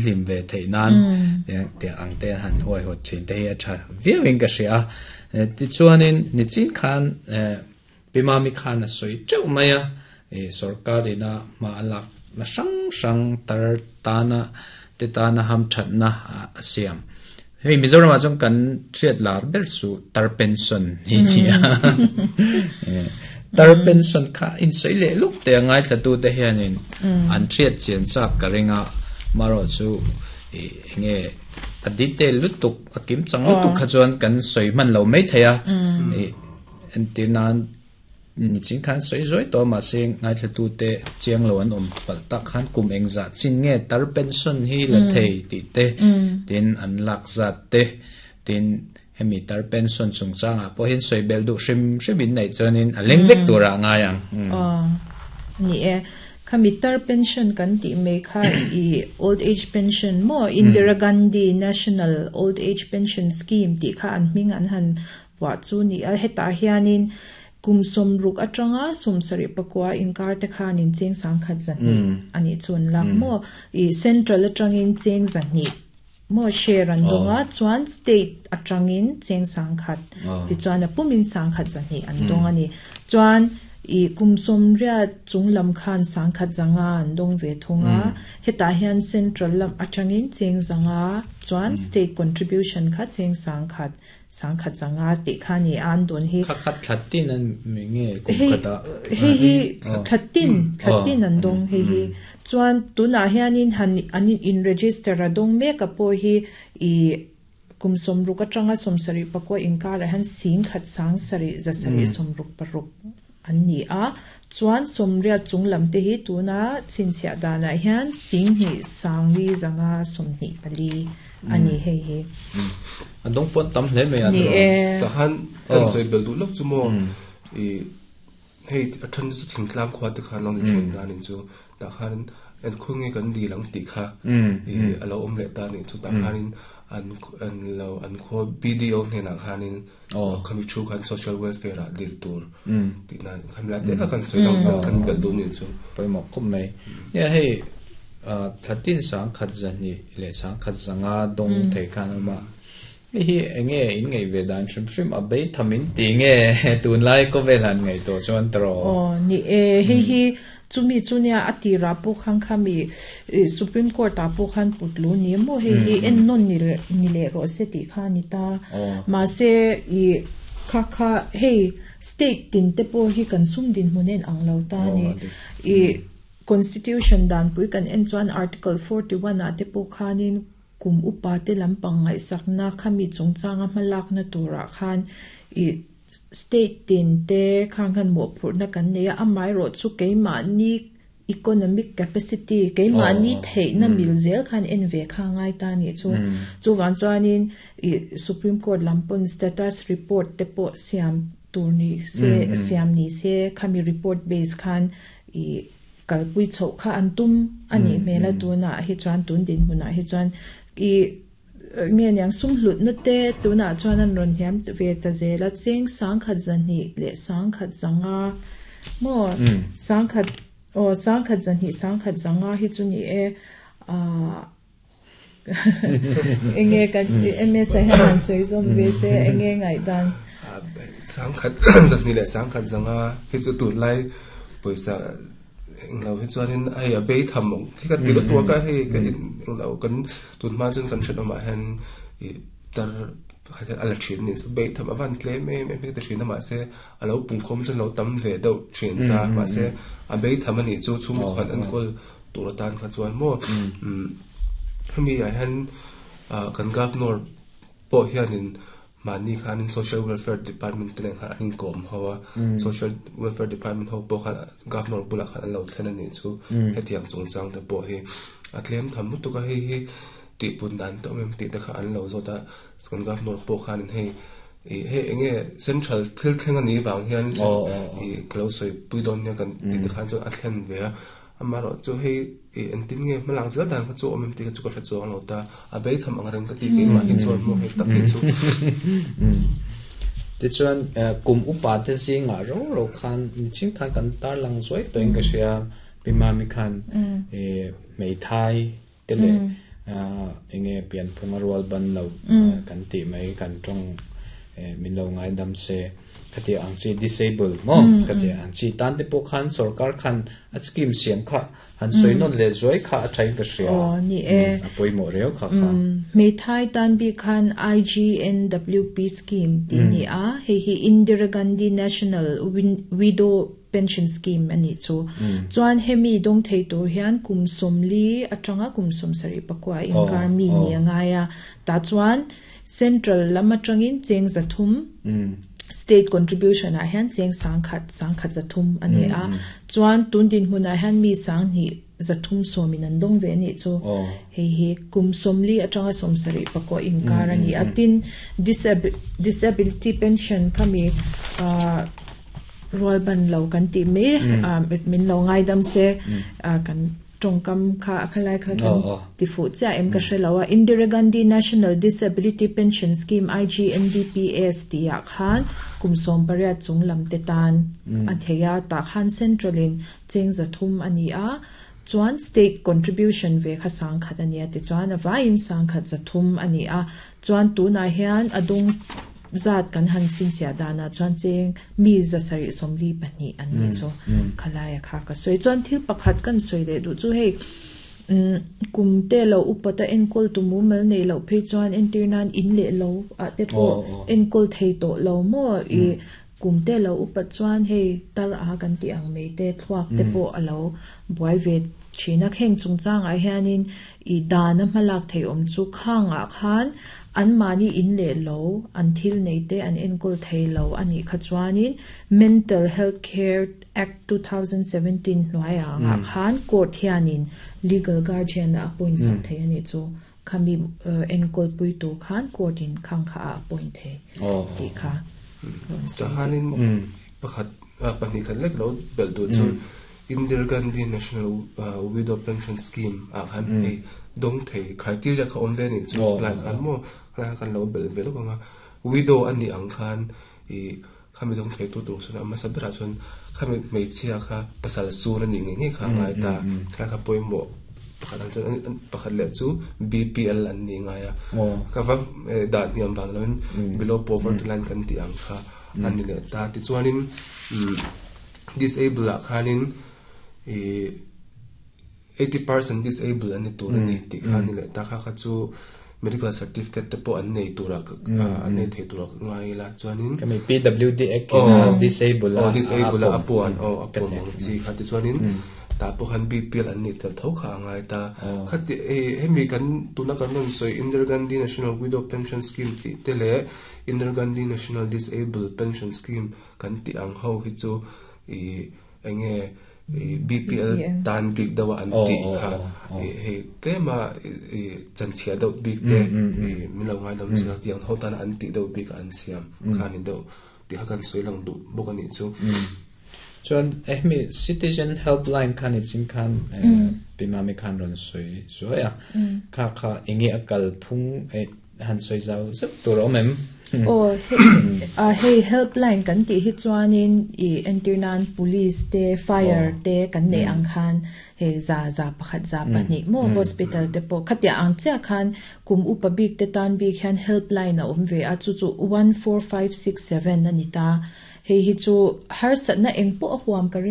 hlim ve theih nan tiang ang te han huaihawt thin te hi a tha viauin ka hria a. Tichuanin nichin khan Pi Mami khan a sawi teuh mai a, sorkar ina hma a lak na hrang hrang tar tana te tana hamthatna a siam. Hei Mizoram ah chuan kan hriat lar ber chu tar pension hi ni a. Tar pension kha in sawi leh luk te a ngaithla tu te hianin an hriat chian chak ka ring a, marawh chu enge a detail lutuk a kim chang lutuk kha chuan kan sawi hman lo mai thei a. Entir nan nichin khan sawi zawi tawh a mahse ngaithlatute chiang lo an awm palh tak khan kum engzah chin nge tar pension hi la thei tih te tin an lak zat te tin hemi tar pension chungchangah pawh hian sawi belh duh hrim hrim in neih chuanin a leng vek turah a ngai ang. Aw ni e, khami tar pension kan tih mai kha i old age pension maw Indira Gandhi National Old Age Pension Scheme tih kha an hming an han Puah chu ni a, hetah hianin kum 60 atanga 74 inkar te khanin cheng 10 zahnih a nih chu an lak maw? I central atangin cheng zahnih maw share an dawng a, chuan state atangin cheng 10 tichuan a pumin 10 zahnih an dawng a ni. Chuan i kum 80 chung lam khan 10 zanga an dawng ve thung a, hetah hian central lam atangin cheng zanga chuan state contribution kha cheng 10 10 zanga tih kha ni a an dawn hi. Kha khat thla tin an mi nge kum khat ah. Hei hi thla tin thla tin an dawng hei hi. Chuan tunah hianin han an in register a dawng mek a pawh hi i kum 60 atanga 74 inkarah hian 10 sang sarih za sarih 66 an ni a. Chuan 80 chung lam te hi tuna chhinchhiah danah hian 2 sang li zanga 24 a ni hei hi. A dawng pawh an tam hle mai a Ni e. Tah khan kan sawi bel duh lawk chu maw i hei a then chu thingtlang khua te khan lo ni thin dan in chu tah khan en khaw nge kan dil ang tih kha i a lo awm leh ta a nih chu tah khanin an an lo an khaw BDO hnenah khanin khami thu khan social welfare ah dil tur tih nan khami lai te kha kan sawi lang kan belh duh nih chu. Pawimawh khawp mai. Nia hei Thla tin 102 leh 105 dawng thei khan a awm a. Hei hi eng nge in ngaih ve dan hrim hrim a bei tham in ti nge tunlai khawvel han ngaih tawh chuan tawh. Aw ni e, hei hi chumi chu nia a tirah pawh khan khami Supreme Court ah pawh khan put lu ni maw hei hi en nawn ni ni leh rawh se tih kha a ni ta. Mahse i kha kha hei state tin te pawh hi kan sum dinhmun en ang lo ta a ni. I Constitution danpui kan en chuan Article 41 ah te pawh khanin kum upa te lampang ngaihsakna khami chungchanga hmalakna turah khan i state tin te khang khan mawhphurhna kan nei a, amaherawh chu keimahni economic capacity, keimahni theihna mil zel khan en ve kha a ngai ta anih chu. Chuvang chuanin i Supreme Court lam pawn status report te pawh siam tur ni se, siam ni se khami report base khan I kalpui chhoh kha an tum a nih hmel a, tunah hi chuan tun dinhmunah hi chuan i nge niang sum hlutna te tunah chuan an rawn hniam ve ta zel a, cheng 10 zahnih leh 10 zanga maw 10 aw 10 zahnih 10 zanga hi chu ni e ah enge kan MS-a hian han sawi zawm ve che enge ngaihdan? 10 zahnih leh 10 zanga hi chu tunlai pawisa englo hi chuanin hei a bei tham ang hi ka ti lutuk a ka hei ka englo kan tunhma chuan kan hriat awmah hian ih tar pakhat hian a la thin a ni chu bei tham a van tlem em em hi ka ti thin a mahse a lo pungkhawm chuan a lo tam ve deuh thin ta mahse a bei tham a nih chu chhungkaw khan enkawl tur atan kha chuan maw hemi ah hian kan governor pawh hianin mahni khanin social welfare department te nen khan an inkawm ho a social welfare department ho pawh khan governor bulah khan an lo thlen a nih chu hetiang chungchang te pawh hi a tlem tham lutuk a hei hi tihpun dan te awm em tih te kha an lo zawt a kan governor pawh khanin hei Ih hei enge central thil thleng a nih vang hian ih ka lo sawi pui dawn nia kan tih te khan chuan a thlen ve a amaherawh chu hei ih engtin nge hmalak zel dan kha chu awm em tih kha chu ka hre chuang lo ta a bei tham ang reng ka ti keimah hi chuan maw hei tak hi chu. Tichuan kum upa te zingah ro ro khan niching khan kan tarlang zuai tawhin ka hria Pi Mami khan ih hmeithai te leh Enge pianphung a rual ban lo kan tih mai kan tawng min lo ngaidam se khatiang ang chi disable maw khatiang ang chi tan te pawh khan sorkar khan a scheme siam kha han sawi nawn leh zuai kha a thain ka hria a pawimawh riau kha kha. Hmeithai tan bik khan IGNWP scheme tih a ni a, hei hi Indira Gandhi National Widow Pension Scheme a nih chu. Chuan hemi dawng thei tur hian kum 40 atanga kum 74 inkar mi ni a ngai a, tah chuan Central lam atangin cheng 300, State contribution ah hian cheng 1000, 1100 a ni a. Chuan tun dinhmunah hian mi 2370 in an dawng ve a nih chu. Hei hi kum 40 atanga 74 inkar a ni a. Tin, Disability Pension khami rual ban lo kan tih mai min lo ngaidam se kan tawngkam kha a khalai kha kan ti fuh chiah em ka hre lo a. Indira Gandhi National Disability Pension Scheme, IGNDPS, tih ah khan kum 18 chung lam te tan a thei a, tah khan Central in cheng 300 a ni a, chuan State contribution ve kha 1000 a ni a, tichuan a vaiin 1100 a ni a, chuan tunah hian a dawng zat kan han chhinchhiah danah chuan cheng mi 742 an nih chu khalaia kha ka sawi. Chuan thil pakhat kan sawi leh duh chu hei kum te lo upata enkawl tu mumal nei loh phei chuan entir nan in leh lo ah te pawh enkawl thei tawh lo maw i kum te lo upat chuan hei tar a kan tih ang mai te thluak te pawh a lo buai ve thin a. Heng chungchangah hianin i dana hmalak thei awm chu khangah khan an mahni in leh lo an thil nei te an enkawl thei lo a nih kha chuanin Mental Health Care Act 2017 hnuaiah angah khan court hianin legal guardian a appoint sak thei a nih chu. Khami enkawl pui tur khan court in khang kha a appoint thei tih kha rawn sawi. Tahanin pakhat pahnih khat lek lo belh duh chu Indira Gandhi National Widow Pension Scheme ah khan hei dawng thei criteria kha awm ve a nih chu lai khan maw khalai khan kan lo belh ve lawk ang a. Widow a nih ang khan i khami dawng thei tu tur chuan a hmasa berah chuan khami hmeichhia kha pasal sur a nih ngei ngei kha a ngai ta. Khalai kha pawimawh pakhat ang chuan pakhat leh chu BPL an nih ngai a. Ka va dah hniam vang loin below poverty line kan tih ang kha a ni leh ta. Tichuanin disable ah khanin i 80% disable an ni tur a ni tih kha a ni leh ta. Kha kha chu medical certificate te pawh an nei tura an nei thei tura ka ngai ila chuanin Kami PWD Act in a disable a aw disable a puan aw a puan ang chi kha tichuanin tah pawh khan BPL an nih tel tho kha a ngai ta. Khati hemi kan tuna kan rawn sawi Indira Gandhi National Widow Pension Scheme tih te leh Indira Gandhi National Disable Pension Scheme kan tih ang ho hi chu i enge i BPL tan bik deuh a an tih kha i hei tlem a i chanchhia deuh bik te i min lo ngaidam zir a tiang ho tana an tih deuh bik a an siam kha a ni deuh tih kha kan sawi lang duh bawk a nih chu. Chuan hemi Citizen Helpline khan i chin khan Pi Mami khan rawn sawi zuai a, kha kha enge a kalphung han sawi zau zeuh tur a awm em? Aw, hei helpline kan tih hi chuanin i entir nan police te, fire te kan neih ang khan hei za za pakhat za pahnih maw hospital te pawh khatiang ang chiah khan kum upa bik te tan bik hian helpline a awm ve a, chu chu 14567 a ni ta. Hei hi chu harsatna eng pawh a huam ka ring.